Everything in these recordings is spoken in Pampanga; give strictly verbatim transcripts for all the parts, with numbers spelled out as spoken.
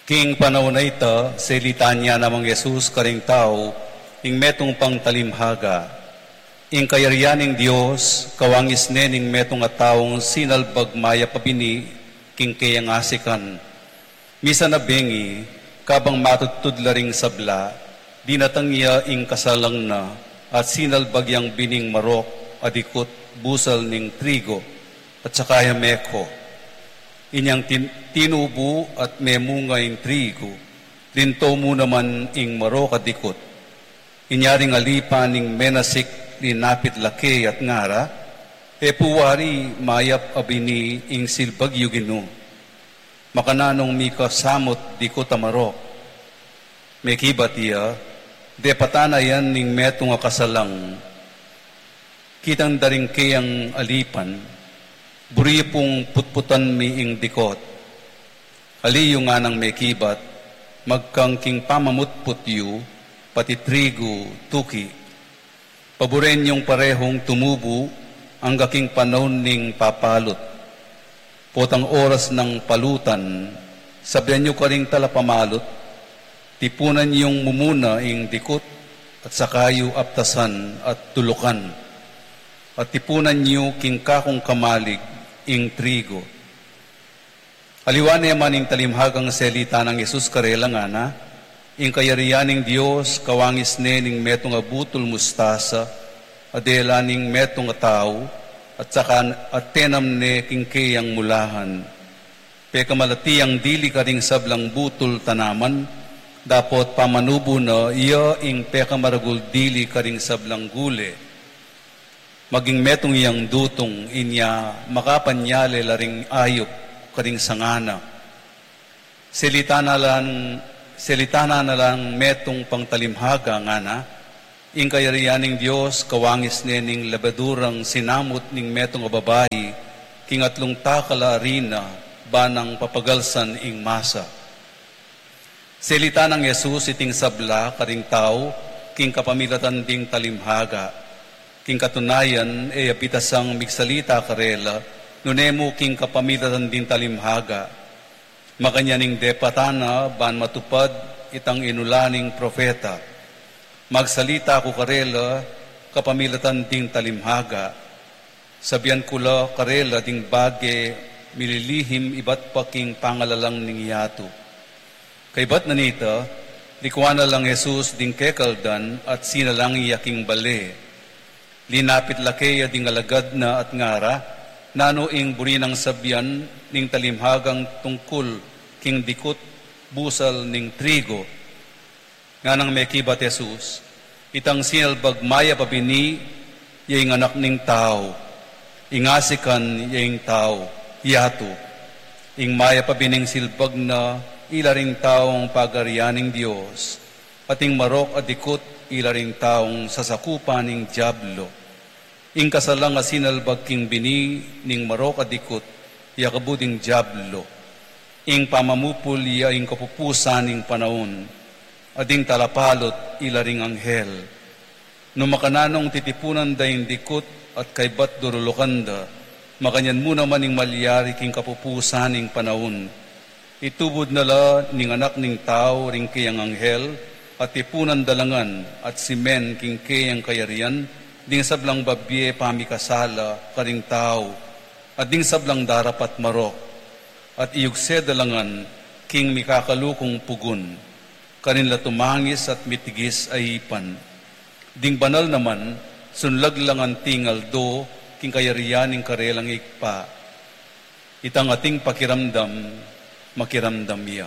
King panaun a ita, selitan ya namang Jesus karing tau ing metung pang talimhaga. Ing kayarian ning Dios kawangis ne ning metung a taung sinalbag mayap a bini king keyang asikan. Misan a bengi, kabang matudtud la ring sabla, dinatang ya ing kasalang na at sinalbag yang bining marok a dikut busal ning trigo, at saka ya mekho. Inyang tin-, tinubu at memunga ing trigo, linto mu naman ing marok a dikut. Inya ring alipan ning menasik linapit la kaya at ngara, "E pu wari mayap a bini ing silbag yu, Ginu. Makananung mika samut dikut a marok?" Mekibat iya, "Depatan na yan ning metung a kasalang." Kitang da ring keyang alipan, "Buri yu pung putputan mi ing dikut." "Ali yu," nganang mekibat, "magkang king pamamutput yu, pati trigo, tuki. Paburen yung parehung tumubu angga king panaun ning papalut. Potang oras nang palutan, sabian yu karing talapamalut, tipunan yung mumuna ing dikut at saka yu aptasan at tulukan. At tipunan yu king kakung kamalig ing trigo." Aliwa ne man ing talimhagang selita nang Jesus karela, ngana, "Ing kayarian ning Dios kawangis ne ning metung a butul mustasa a dela ning metung a tau, at saka at tenam ne king keyang mulahan. Pekamalati yang dili karing sablang butul tanaman, dapot pamanubu na iya ing pekamaragul dili karing sablang gule. Maging metung yang dutung, inya makapanyale la ring ayup karing sanga na." Selita na lang, selita na lang metung pang talimhaga, ngana, "Ing kayarian ning Dios kawangis ne ning lebadurang sinamut ning metung a babai king atlung takal a arina, ba nang papagalsan ing masa." Selita nang Jesus iting sabla karing tau king kapamilatan ding talimhaga. King katunayan, e ya bitasang migsalita karela, nune mu king kapamilatan ding talimhaga. Makanyan ing depatan na ban matupad itang inula ning propeta, "Magsalita ku karela kapamilatan ding talimhaga. Sabian ku la karela ding bage mililihim ibat pa king pangalalang ning yatu." Kaybat na nita, likuan na lang Jesus ding kekaldan at sinalang ya king bale. Linapit la keya ding alagad na at ngara, "Nanu ing buri nang sabian ning talimhagang tungkul king dikut busal ning trigo?" Nganang mekibat Jesus, "Itang sinalbag mayap a bini ya ing Anak ning Tau. Ing asikan ya ing tau, yatu. Ing mayap a bining silbag na, ila ring taung pagarian ning Dios. At ing marok a dikut, ila ring taung sasakupan ning Diablo. Ing kasalang a sinalbag king bini ning marok a dikut, ya kabu ding Diablo. Ing pamamupul ya ing kapupusan ning panaun, at ding talapalut, ila ring anghel. Nung makananung titipunan da ing dikut at kaybat durulukan da, makanyan mu naman ing malyari king kapupusan ning panaun. Itubud na la ning Anak ning Tau ring keyang anghel, at tipunan da la ngan at simen king keyang kayarian ding sablang babie pamikasala karing tau, at ding sablang darapat marok, at iyugse da la ngan king mikakalukung pugun, karin la tumangis at mitigis a ipan. Ding banal naman, sunlag la ngan tingal do king kayarian ning karelang Ibpa. Itang ating pakiramdam, makiramdam ya."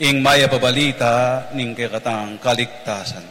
Ing mayap a balita ning kekatang kaligtasan.